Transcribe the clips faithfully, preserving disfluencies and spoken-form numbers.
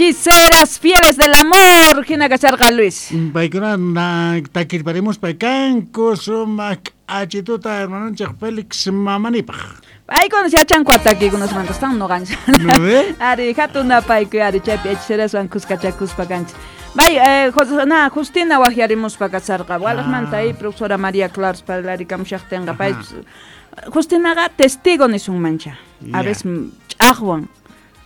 Hechiceras fieles del amor, hina kasharqa Luis. Paykuna takirparimuspa kanku sumaq achituta hermanonchik Félix Mamanipaq. Paykuna yachanku atakikunasmanta están noqanchik. Ari hatun napaykuy ari chaypi hechiceraswan kuskachakuspa kanchik. Bay, eh, na, Justina waqyarimuspa kasharqa. Walaqmanta ahí profesora María Claros parlarikamushaqtinqa pay Justinaqa testigo nisunmancha. A veces ch'aqwan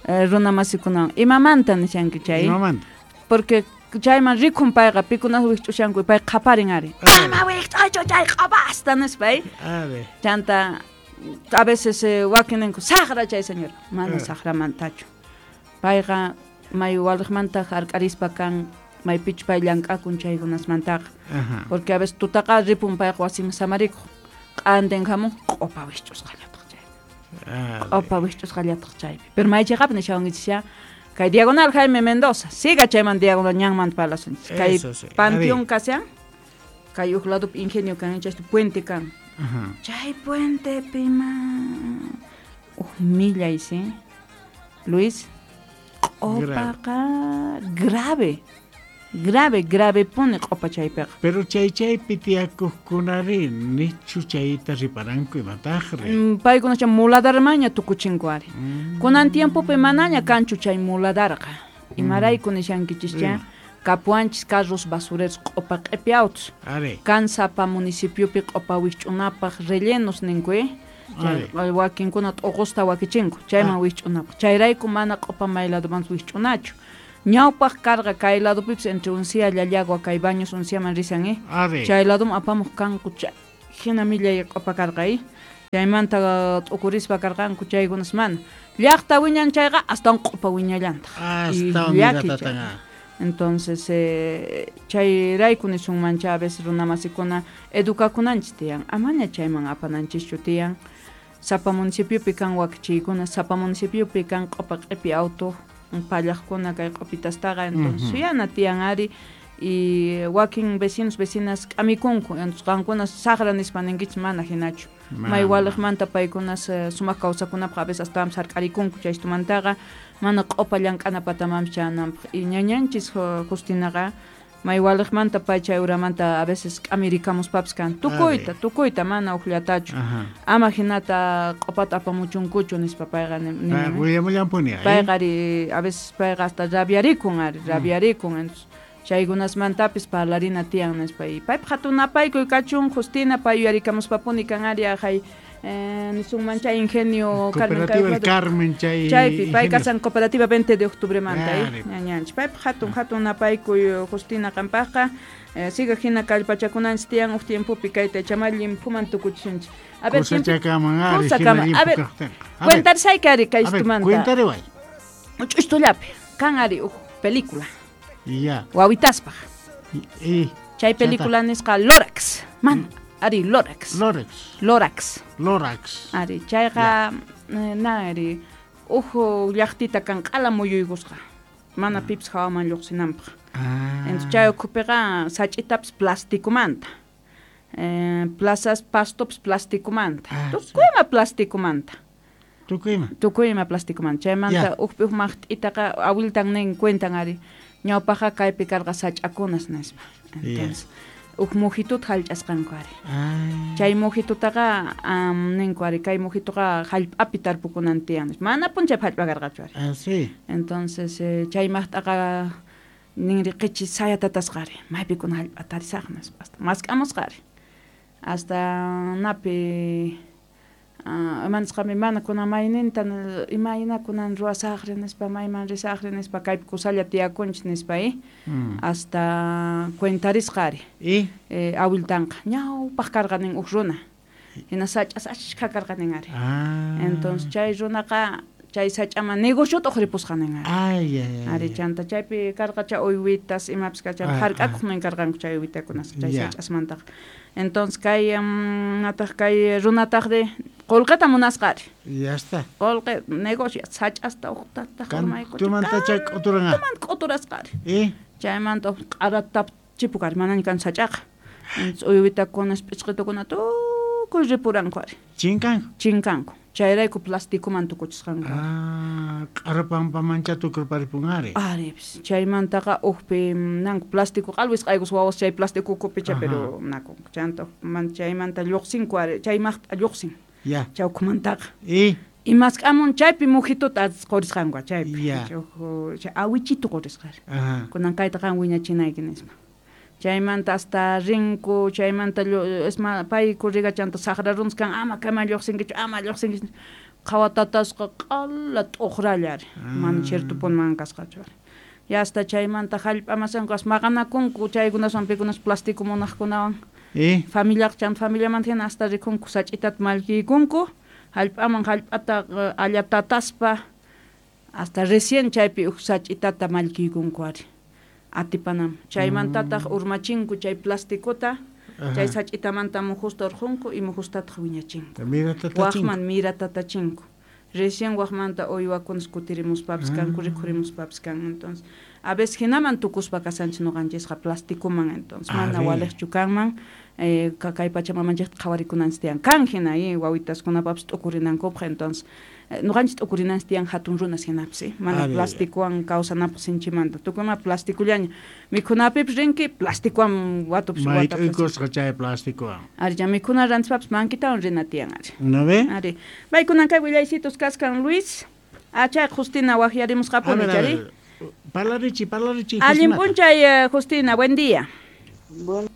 runa masikunawan imamanta nishanki chay. Imamanta. Porque chayman rikun payqa pikunas wikch'ushanku pay qhaparin ari. Ama wikch'aychu chay q'apasta nispa. Ari. Chanta a veces eh, wakininku saqra chay señora. Mana saqramantachu. Payqa may waliqmanta hark'arispa kan maypichu pay llank'akun chaykunasmantaqa. Porque a veces tutaqa ripun payqa wasiman samarikuq. Q'antin hamun q'upa wikch'usqallataq chaypi. Q'upa wikch'usqallataq chaypi. Pero maychiqapi nishawankichis kay Diagonal Jaime Mendoza. Siga chayman Diagonal ñanmanta parlasunchis. Kay Panteón kasian, kay uq ladopi ingenio kan, chayta puente kan. Chay puentepi ma uq millay, ¿sí? Luis, q'upaqa grave. Grave, grave pone q'upa chaypiqa. Pero chay chaypi tiyakuqkunari nichu chayta riparanku imataqri. Mm, paykuna chay muladarmaña tukuchinku ari. Mm. Kunan tiempopi manaña kanchu chay muladarqa. Imarayku nishankichischa mm. Kapuanchis carros basureros q'upa q'ipi autos. Kan sapa municipiopi q'upa wikch'unapaq rellenos ninku, eh? Chay wakinkuna t'uqusta wakichinku chayman ah. wikch'unapaq. Chayrayku mana q'upa mayladoman wikch'unachu. Ñawpaq karqa kay ladopipis entre Uncia, Llallagua, kay Baños, Unciaman risan, eh? Chay ladom apamuq kanku chay hina millay q'upa karqa, eh? Chaymanta t'ukurispa karqanku chaykunas mana. Llaqta wiñan chayqa astawan q'upa wiñallantaq. Astawan miratataqa. Entonces, eh, chayrayku nisunmancha a veces runamasikuna edukakunanchis tiyan. Amaña chayman apananchischu tiyan. Sapa municipiopi kan wakichiykuna, sapa municipiopi kan q'upa q'ipi auto pallaqkuna kay q'upitastaqa, entonces suyana tiyan ari y wakin vecinos vecinas k'amikunku, entonces qankuna saqra nispa ninkichis mana hinachu. May waliqmanta paykunas sumaq kawsakunapaq a veces astawan hark'arikunku chaystumantaqa mana q'upa llank'ana patamanpis chayananpaq. Y ñañanchis Justinaqa may waliqmanta pay chay uramanta a veces k'amirikamuspapis kan tukuyta tukuyta mana uqllatachu. Ama hinata q'upata apamuchunkuchu nispa payqa niman. Willamullanpuni. Payqa ari a veces payqa hasta rabiarikun ari rabiarikun, entonces chaykunasmantapis parlarina tiyan nispa. Y paypaq hatun napaykuy kachun Justina pay yuyarikamuspapuni kan ari ajay eh, nisunman chay ingenio Carmen Cooperativa Carmen chay chaypi pay kasan Cooperativa veinte de octubre manta ñañanchis paypaq hatun hatun napaykuy Justina qampaqqa eh, siga hina kallpachakunanchis tiyan uq tiempopi kayta chamal llimphuman tukuchisunchis. A ver kusachakaman ari a ver cuentarisayki ari kay istumanta. Cuentariway ch'ustullapi kan ari uq película. Ya. Wawitaspaq. Y chay película nisqa Lorax. Man, ari Lorax. Lorax. Lorax. Lorax. Ari chayqa na ari uhu llaqtita kan q'ala muyuykusqa. Mana pipis hawaman lluqsinanpaq. Ah. Entonces chay ukhupiqa sach'itapis plasticomanta. Eh, plazas pastopis plasticomanta. Ah, Tukuyma plasticomanta. Tukuyma. Tukuyma plasticomanta. Chaymanta uqpi uq maqt'itaqa awiltan nin cuentan ari. Ñawpaqa kaypi karqa sach'akunas nispa. Entonces, uq mujituta hallch'asqanku ari. Ah. Chay mujitutaqa um, ninku ari kay mujituqa hallp'api tarpukunan tiyan. Mana punchaypi hallp'a karqachu ari. Ah, sí. Entonces, eh, chay maqt'aqa ninri qichi sayatatasqa ari. Maypikuna hallp'a tarisaq nispa. Hasta mask'amusqa ari. Hasta napi Uh, imanisqami mana kunan mayninta imayna kunan ruwasaqri nispa mayman risaqri nispa kaypi kusalla tiyakunchis nispa eh? Mm. Hasta cuentarisqa ari. Y eh, awiltanqa ñawpaq karqa nin uq runa hina sach'as achka karqa nin ari. Ah. Entonces chay runaqa chay sach'aman negociota uqripusqa nin ari. Ay, ay, ay. Ari chanta chaypi karqa chay uywitas imapis kachay Ah, hark'akuq nin karqanku chay uywitakunas chay Ya. sach'asmantaqa. Entonces kay um, nataq kay runataqri qolqeta munasqa ari. Ya está. Qolqe negocio sach'asta uqtataq urmaykuchi. Tumantacha k'uturanqa. Tuman k'uturasqa ari. Y Chaymanta q'arata chipuk ari manaña kan sach'aqa. Entonces uywitakunas p'isqitukuna tukuy ripuranku ari. Chinkanku. Chinkanku. Chayrayku plastikuman tukuchisqanku. Ah, q'arapampamancha tukurparipun ari. Aripis chaymantaqa ukpi nanku plástico qalwis qaykus wawas chay plástico kupicha pero naku chanta man chaymanta lluqsinku ari chay maqt'a lluqsin. Ya. Chawkumantaqa. Y y mask'amun chaypi mujituta qurisqanku chaypi. Ya. Chay awichitu qurisqari. Kunan kayta qan wiñachinayki nispa. Chaymanta hasta rinku, chaymanta esma pay kurriga chanta saqra runas kan ama kayman lluqsinkichu, ama lluqsinkichu. Qhawatatasqa q'ala t'uqralla ari. Mana chirtupunman kasqachu ari. Ya hasta chaymanta hallp'amasanku as maqanakunku chaykunaswan pikunas plástico munaqkunawan. ¿Eh? Familiaq chanta familiamanta hina hasta rikunku sach'itata mallkiykunku, hallp'aman hallp'ata allatataspa hasta recién chaypi huk sach'itata mallkiykunku ari. Atipanam chaymantataq urmachinku chay plasticota chay sach'itamanta mujusta urqunku y mujustataq wiñachinku waqman miratatachinku recién waqmanta uywakunas kutirimuspapis kanku rikhurimuspapis kan entonces a veces hinaman tukuspa kasanchis ñuqanchisqa plastikuman entonces mana waliqchu kanman eh, kay pachamamanchikta qhawarikunanchis tiyan kan hina y wawitaskunapapis t'ukurinankupaq entonces ñuqanchis t'ukurinanchis tiyan hatun runas hinapis eh? Mana plastikuwan kawsanapaq sinchimanta tukuyma plastikullaña mikhunapipis rinki plastikuwan watupis watapis chay plastikuwan ari ya mikhuna rantispapis mankitawan rina tiyan ari ¿no ve? Ari paykunan kay willaysitos kaskan Luis ah chay Justina waqyarimusqapuni chari parlarichi parlarichi allin p'unchay Justina buen día. Buenos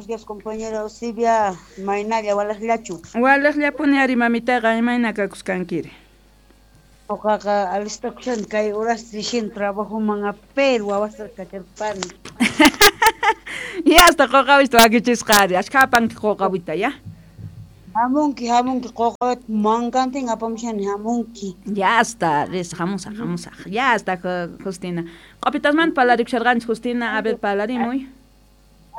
días, compañera Eusebia, maynalla walaqllachu. Walaqllapuni ari mamitaqa imayna kakusqankiri. Uqaqa alistakushan kay horas rishin trabajoman pero wawasta kacharpani. Ya hasta quqawista wakichisqa ari, ashka apanki quqawita ya. Hamunki, hamunki quqawita mankantin apamushani hamunki. Ya hasta, ris hamusaq, hamusaq. Ya hasta Justina. Q'upitasmanta parlarikusharqanchis Justina, a ver parlarimuy.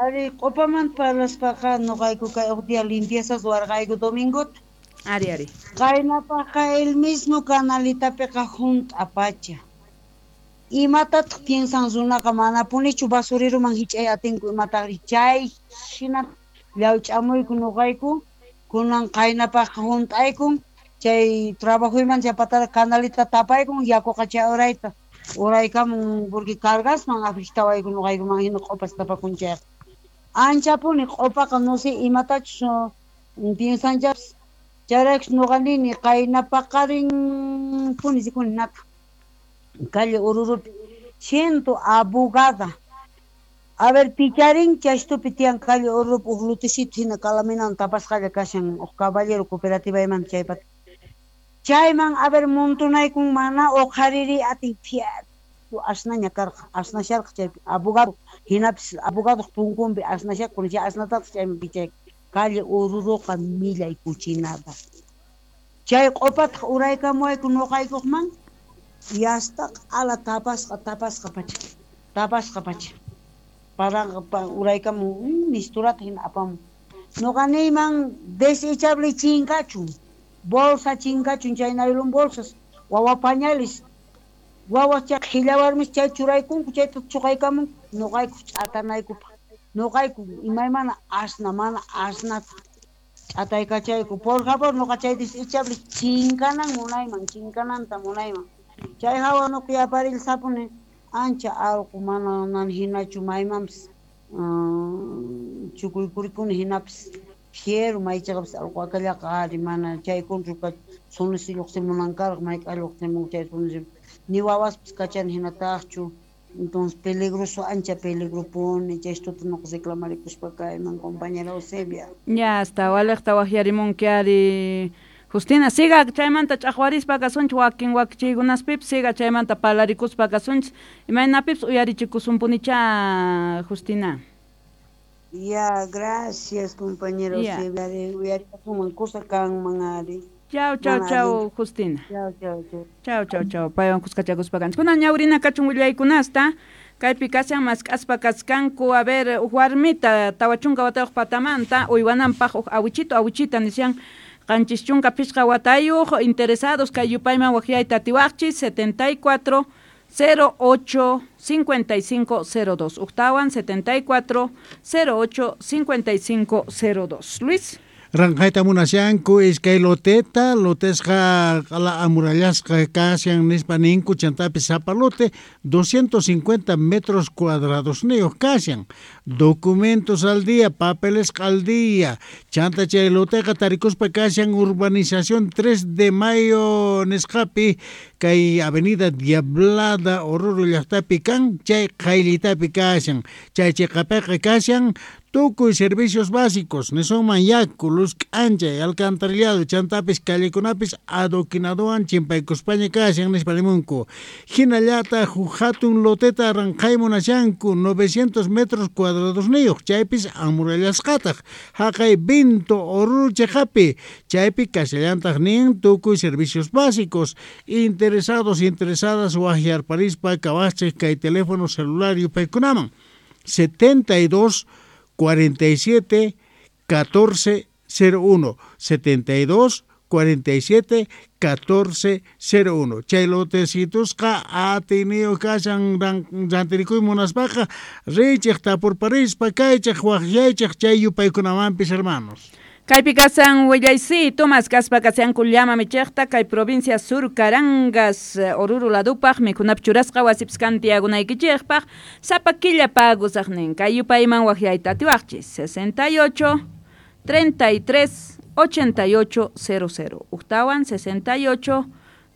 Ari, q'upamanta parlaspaqa nuqayku kay huk día limpiezas warqayku domingota. Ari, ari. Qaynapaqqa el mismo canalitapiqa hunt'a pacha. Imatataq piensan runaqa manapunichu basuriruman hich'ay atinku imataqri chay hina llawch'amuyku nuqayku kunan qaynapaqqa hunt'aykun chay trabajoyman chaypatara canalita tapaykun yakuqa chay urayta uraykamun porque cargasman afectawayku nuqaykuman hina q'upas tapakun chayqa. Anchapuni q'upaqa no sé imatachus piensanchapis chayraykus nuqa nini qaynapaqarin puni rikuni nata calle Ururupi siento abogada a ver picharin chaystupi tiyan calle Ururupi huk lutisito hina calaminan tapasqalla kashan huk caballero cooperativa imanta chaypata chayman a ver montonaykun mana uqhariri atin fiatu asnaña karqa asnasharqa chaypi abogado hinapis abogadoq punkunpi asnashakun chay asnatataq chayman pichay calle Ururuqa millay kuchinada chay q'upataq uraykamuwayku nuqaykuqman yasta q'ala tapasqa tapasqa pacha tapasqa pacha paranqa uraykamun misturata hina apamun nuqa niyman desechable chinkachun bolsa chinkachun chay naylon bolsas wawa pañales wawa chay qhilla warmis chay churaykunku chayta chuqaykamun nuqayku ch'atanaykupaq nuqayku imaymana asna mana asnata ch'ataykachayku por favor nuqa chay desechable chinkanan munayman chinkananta munayman chay hawa nuqa yaparilsapuni ancha allqu mana nan hinachu maymanpis chukuykurikuni hinapis fiero maychaqapis allqu akallaqa ari mana chay kunchu sunisi lluqsimunan karqa mayk'a lluqsimun chay sunisi ni wawaspis kachani hinataqchu entonces peligroso ancha peligropuni chaystuta nuqa reclamarikuspa kayman compañera Eusebia. Ya hasta waliqta waqyarimunki ari Justina, siga chaymanta ch'aqwarispa kasunchis wakin wakichiykunaspipis siga chaymanta parlarikuspa kasunchis imaynapipis uyarichikusunpunicha Justina. Ya, gracias compañera Eusebia, uyarikasunman kusa kanman ari. Chau, chau, chau, Justina. Chau, chau, chau. Chau, chau, chau. Paywan kuskachakuspa kanchis. Kunan ñawrina kachun willaykunasta. Kaypi kashan mask'aspa kaskanku, a ver, huk warmita tawa chunka watayuq patamanta uywananpaq huk awichito, awichita nishan qanchis chunka pishqa watayuq interesados kay yupayman waqyayta atiwaqchis setenta y cuatro cero ocho cincuenta y cinco cero dos. Uqtawan setenta y cuatro cero ocho cincuenta y cinco cero dos. Luis. Ranqayta munashanku iskay loteta, lotesqa q'ala amurallasqa kashan nispa ninku chantapis sapa lote doscientos cincuenta metros cuadrados niyuq kashan. Documentos al día, papeles al día. Chanta chay loteqa tarikuspa kashan urbanización tres de mayo nisqapi kay avenida Diablada Oruro llaqtapi kan chay qayllitapi kashan. Chay chiqapiqa kashan tukuy servicios básicos, nisunman yaku, luz k'anchay, alcantarillado, chantapis callekunapis adoquinadowan chimpaykuspaña kashan nispa nimunku. Hinallataq huk hatun loteta ranqay munashanku novecientos metros cuadrados niyuq, chaypis amurallasqataq haqay Vinto Oruro chiqapi, chaypi kashallantaq nin tukuy servicios básicos. Interesados, interesadas waqyarparispa kawachik kay teléfono celular yupaykunaman setenta y dos cuarenta y siete catorce cero uno, setenta y dos cuarenta y siete catorce cero uno. Chay lotecitusqa atiniyu kashan rantirikuy munaspaqa richiq tapurparispa kaychiq waqyaychiq chay yupaykunamanpis hermanos. Kaypi kasan willaysi Tomás kaspa kasanku llama michiqta kay provincia Sur Carangas Oruro ladupaq mikhunap churasqa wasipis kantiagunaykichikpaq sapa killa pagusaqnin kay yupayman waqyayta atiwaqchis sesenta y ocho treinta y tres ochenta y ocho cero cero uktawan sesenta y ocho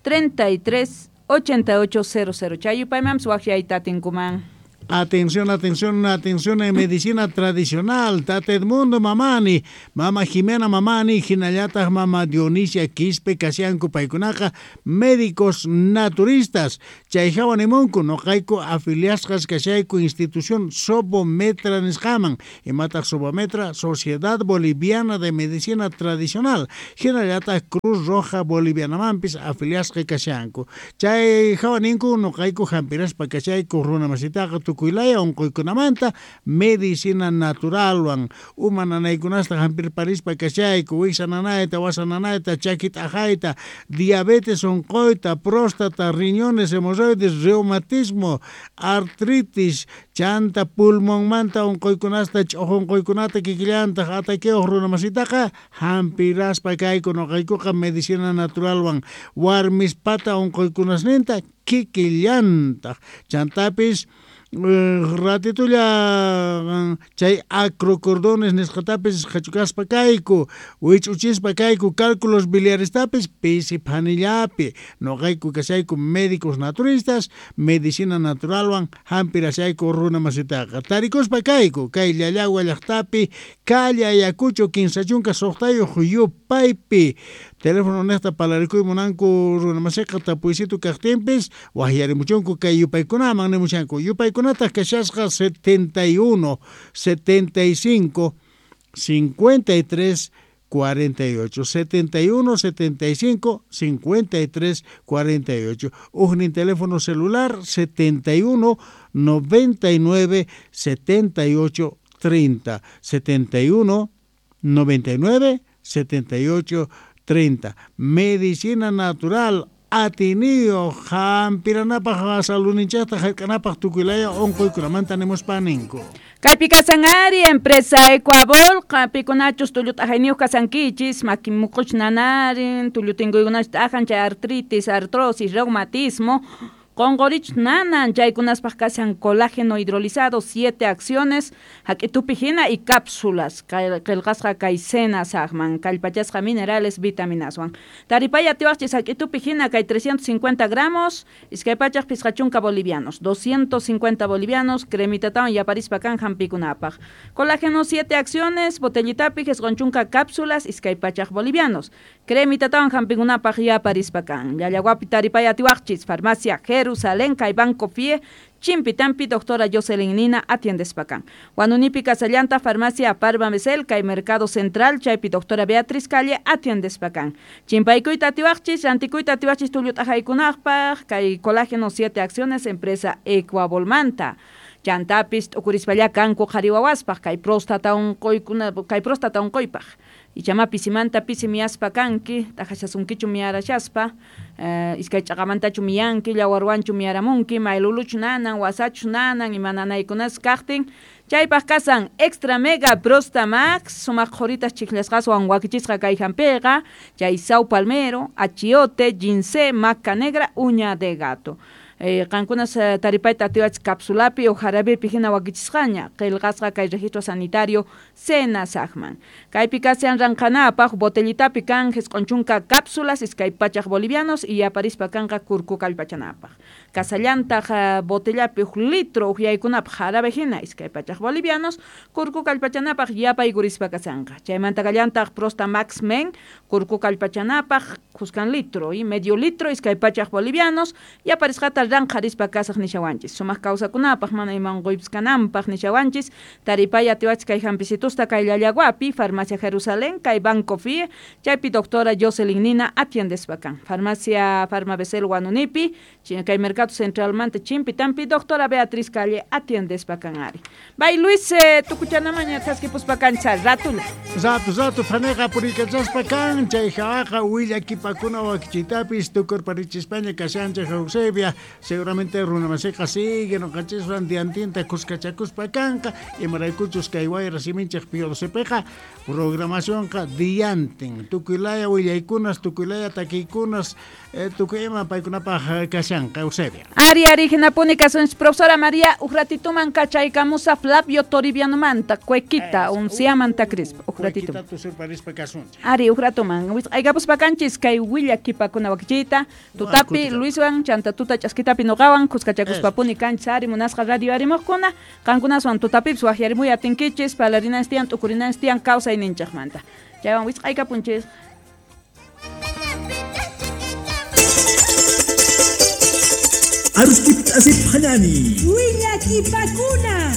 treinta y tres ochenta y ocho cero cero chay yupaymanpis waqyayta atinkuman. Atención, atención, atención en medicina tradicional. Tata Edmundo Mamani, Mama Jimena Mamani, hinallataq Mama Dionisia Quispe kashanku paykunaqa médicos naturistas. Chay hawa nimunku noqayku afiliasqas kashayku institución Sobometra nisqaman. Imataq Sobometra, Sociedad Boliviana de Medicina Tradicional. Hinallataq Cruz Roja Bolivianamanpis afiliasqa kashanku. Chay hawa ninku noqayku hampiraspa kashayku runa masitaqa tukuylaya unquykunamanta medicina naturalwan uma nanaykunasta hampirparispa kashayku wiksa nanayta, wasa nanayta, chaki t'aqayta, diabetes unquyta, próstata, riñones, hemorroides, reumatismo, artritis, chanta pulmonmanta unquykunasta, ch'uq unquykunata kikillantaq ataqueuq runa masitaqa hampiraspa kayku noqaykuqa medicina naturalwan warmispata unquykunasninta kikillantaq chantapis ratitulla chay acrocordones nisqatapis qhachukaspa kayku wich'uchispa kayku cálculos biliarestapis pisi phanillapi noqayku kashayku médicos naturistas medicina naturalwan hampirashayku runa masitaqa tarikuspa kayku kay Llallagua llaqtapi calle Ayacucho kinsa chunka suqtayuq yupaypi teléfono niqta palarikuy munanku runa masiqa tapuysitu kaqtinpis waqyarimuchunku kay yupaykunaman nimushanku yupaykunataq kashasqa setenta y uno, setenta y cinco, cincuenta y tres, cuarenta y ocho, setenta y uno, setenta y cinco, cincuenta y tres, cuarenta y ocho. Ujnin teléfono celular setenta y uno, noventa y nueve, setenta y ocho, treinta, setenta y uno, noventa y nueve, setenta y ocho, treinta. Medicina natural atiniyo hampiranapaq saluninchaqta hark'anapaq tukuylaya unquykunamanta nimuspa ninku. Kaypi kasanari empresa Ecuabol pikunachus tullut'ajayniyuq kasankichis maki muquch nanarin tullutinquykunachus t'ajan chay artritis, artrosis, reumatismo qunqurich nanan chaykunaspaq kashan colágeno hidrolizado siete acciones hak'itupi hina y cápsulas qillqasqa kay cena saqman kallpachasqa minerales vitaminaswan taripay atiwaqchis hak'itupi hina kay trescientos cincuenta gramos iskay pachaq pisqa chunka bolivianos doscientos cincuenta bolivianos cremitatawan yaparispa kan hampikunapaq colágeno siete acciones botellitapi isqun chunka cápsulas iskay pachaq bolivianos cremitatawan hampikunapaq yaparispa kan Llallaguapi taripay atiwaqchis farmacia Jerusalén, kay Banco Fie, Chimpitampi, doctora Jocelyn Nina, atiendespacan. Huanunipi Casallanta, farmacia Parva Mesel, kay Mercado Central, chaypi doctora Beatriz Calle, atiendespacan. Chimpaykuyta atiwaqchis, rantikuyta atiwaqchis tullut'aqaykunaqpaq, kay colágeno siete acciones, empresa Ecuabolmanta. Chantapis t'ukurispalla kanku qhari wawaspaq, kay próstata unquykuna, kay próstata unquypaq. Ichama pisimanta pisi miyaspa kanki, t'aqashasunkichu miyarashaspa, eh, iskay ch'aqamantachu miyanki, llawarwanchu miyaramunki, mayluluchu nanan, wasachu nanan, ima nanaykunas kaqtin. Chaypaq kasan Extra Mega Prostamax, sumaq qhuritas chiklasqaswan wakichisqa kay hampiqa, chay sao palmero, achiote, ginseng, maca negra, uña de gato. Eh, qankunas taripayta atiwach capsulapi o jarabepi hina wakichisqaña, qillqasqa kay registro sanitario Senasajman. Kaypi kasian ranqanapaq botellitapi kan jisq'unchunka cápsulas iskay pachaq bolivianos y aparispa kanqa kurku kallpachanapaq. Kasallantaq botellapi huk litro uhyaykunapaq jarabe hina iskay pachaq bolivianos kurku kallpachanapaq yapaykurispa kasanqa. Chaymanta kallantaq Prostamax Men kurku kallpachanapaq kuskan litro y medio litro iskay pachaq bolivianos yaparisqata ranqarispa kasaq nishawanchis. Sumaq kawsakunapaq mana ima unquypis kananpaq nishawanchis. Taripay atiwach kay hampisitusta kay Llallaguapi, Farmacia Jerusalén, kay Banco F I E, chaypi doctora Jocelyn Nina atiendespa kan. Farmacia Farmabecel Guanunipi, kay Mercado Centralmanta Chimpitampi, doctora Beatriz Calle atiendespa kan ari. Bay Luis, eh, tukuchanamaña thaskipuspa kancha ratula. Rato rato faneqa purikachaspa kan, chay jawaqa willakipakuna wakichitapis tukurparichispaña kashanchik Eusebia. Seguramente runamasiqa sigue noqanchiswan diantinta kuskachakuspa kanqa, imaraykuchus kay wayra siminchik P O D C P-qa programacionqa diantin tukuylaya willaykunas, tukuylaya takiykunas, eh, tukuy ima paykunapaq kashanqa Eusebia. Ari ari hinapuni kasunchis profesora María uqratituman kachaykamusa Flavio Toribianomanta cuequita unciamanta crispa uqratituman. Cuequita tusurparispa kasunchik. Ari uqratuman wisq'aykapuspa kanchis kay willakipakuna wakichiyta tutapi Luiswan chanta tuta ch'askitapi noqawan kuskachakuspapuni kanchis ari munasqa radio arimuqkuna qankunaswan tutapipis waqyarimuy atinkichis parlarinanchis tiyan t'ukurinanchis tiyan kawsayninchikmanta. Chaywan wisq'aykapunchis. Aruskip asip hanani. Willakipakuna.